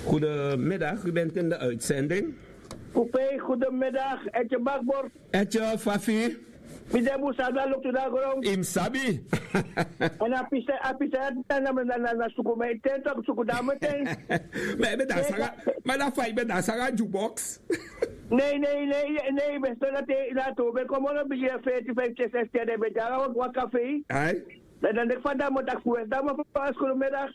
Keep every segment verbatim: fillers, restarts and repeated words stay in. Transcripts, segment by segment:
Goedemiddag, u bent in de uitzending. Kupei, goedemiddag. Etje Bakbor. Etje Fafi. Mi de busa na loktu na gron. Im sabi. En a pisa, a pisa na na na na suku mi ten tok suku dame ten. Ma e ben dan sanga, ma dan fa i ben dan sanga jukebox. Nee, nee, nee, nee, ben stel dat hij na to ben kom op een beetje veertien, vijftien, zestien, dan ben je daar ook wat café. Ai. Dan dan ik van dan moet ik voor dan maar van school middag.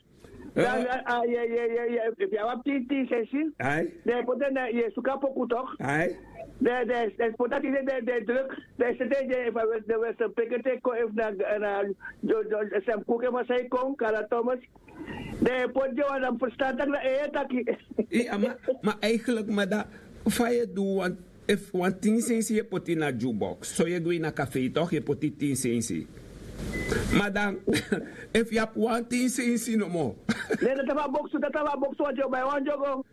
Dan a ye ye ye ye if ya wap tin tin sesi. Ai. Dan put na ye suka poku toch. Ai. Dan dan dan put dat in de de druk. Dan is het de de van de weste pekete ko if na na jo jo sem koke masai kon kala Thomas. Dan put je wan dan verstaan dat na e taki. Iya, ma ma eigenlijk maar dat fa ye du want. Efu wan tin sensi yu e poti na jukebox so yu e go ini a kafei tok yu e poti tin sensi. Ma dan efu yu abi wan tin sensi nomo. Ne dati abi a boksu dati abi a boksu wanti yu o bai wan jogo.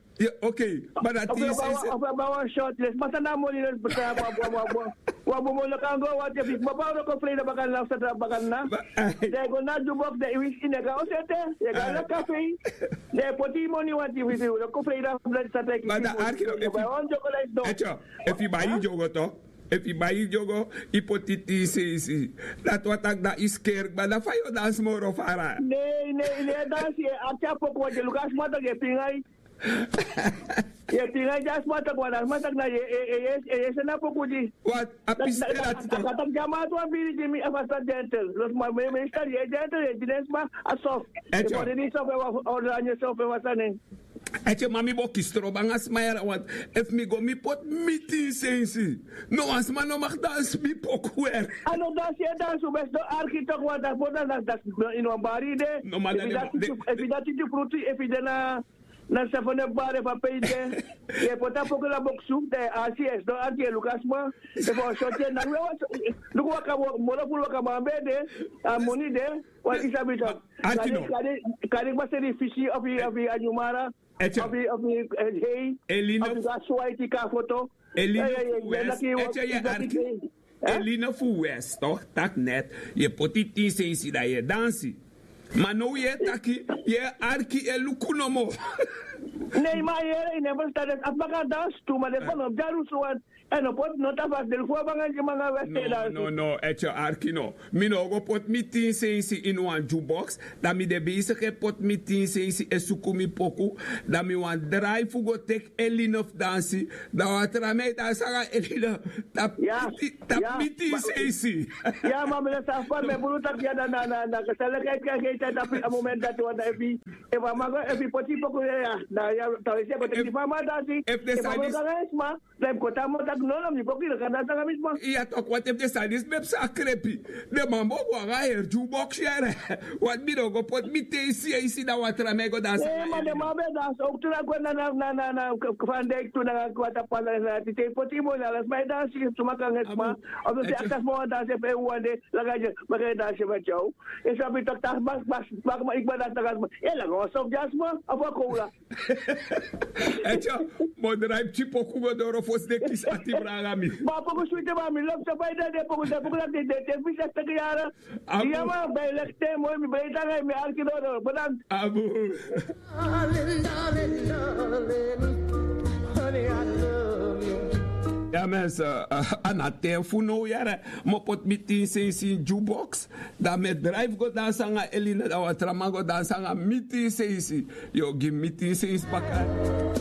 Okei. Ma dan tin sensi. Of yu o bai wan short les ma san na a moni no yu e poti na a boksu. Wan bun moni no kan go wanti yu e poti ma bai wan jogo frei na baka na na satra baka na na. Dan yu go na a jukebox dan yu wisi yu no e go na o sete. Yu e go na a kafei. Dan yu e poti yu moni wanti yu wisi yu no kon frei na a bladi satra yu kisi yu moni. Yu o bai wan jogo dan yu sidon. Efu yu bai yu dyogo to efu yu bai yu dyogo yu poti tin sensi. Dati wan taki dan yu skeri kba dan fa yu o dansi moro fara. Nei nei nei dansi e akti a poku wan de luku a sma tak' yu e pinga yu. Yu e pinga yu di a sma tak' wan dan a sma tak' na yu e e e e seni a poku di. A pisi de dati to. A kan taki di a man ati wan biri gi mi efu a sma gentel los ma mi e meistal yu e gentel yu e gi den sma a sof. Efu a de ni sof efu a order a ni sof efu a sani. Ete ma mi bo kisi trobo nanga sma yara wantu efu mi go mi poti mi tin sensi. No wan sma no maki dansi mi poku weri. A no dansi e dansi un ben sidon arki toki wan dati bo dan dati dati ini wan bari yu de. Efu yu dati titi frutu efu yu de na na sefone bari efu a pe yu de. Yu e poti a poku na boksu dan yu e asi yu e sidon arki yu e luku a sma. Efu a o soti en nanga we luku waka moro furu waka man ben de. A moni de. Wan yu sabi toki. Kari kari kari kba seri fisi ofi ofi a nyumara. Eche. Ofi ofi hei. Elina. Ofi go a swaiti kon a foto. Elina fu west eche yu e arki. Elina fu west tok' taki net yu e poti tin sensi dan yu e dansi. Ma now yu e taki yu e arki e luku nomo. Nei ma a yere yu no e ferstan den a sma kan dansi tu ma den sma no mus dyarusu wan. Èn no poti no tan fasi den luku wan banga gi mi nanga west e dansi. No no eti yu arki no. Mi no o go poti mi tin sensi ini wan dyu boks. Dan mi de beisiki e poti mi tin sensi e suku mi poku. Dan mi wani drai fu go teki eline fu dansi. Dan wan tra man e dansi nanga eline. Tapu mi tin sensi. Ya ma mi no sabi fa mi e bulu taki ya dan na na na keseleiki e keke e tapu a momenti dati wan dan efu yu efu a man go efu yu poti yu poku ya dan ya. Tawesi e go teki di fa a man dansi efu den sani disi. Dan yu mus kon tan a man taki no no mi poku yu no kan dansi nanga mi sma. Iya toki wanten fu den sani disi mi e psa a krepi. Den man bo go nanga heri dyu boksi yere. Wanti mi no go poti mi ten sensi dan wan tra man e go dansi nanga eline. Ma den man ben e dansi owk tu na gwe na na na na na. Fandeki tu nanga kwata pasa na na tite yu poti yu moni ala sma e dansi suma kan nanga sma. Of den si akta sma wan dansi efu en wan de. Langa yu meki en dansi meti yu. Yu sabi toki tan sma sma sma sma yu kba dansi nanga sma. Yu e langa wan sofu di a sma of wan kowla. Etyo. Modrai pikin poku go doro fosi den kisi ati branga mi. Ma poku switi ma mi lobi so fa yu de den poku den poku dati den ten fisi a teki yara. Iya ma ben yu leki ten moi mi ben yu tan nanga yu mi arki doro bodan. Abu. Ya mes a na ten fu now yara. Mi o poti mi tin sensi ini dyu boks. Dan mi e drai fu go dansi nanga eline dan wan tra man go dansi nanga mi tin sensi. Yu o gi mi tin sensi baka.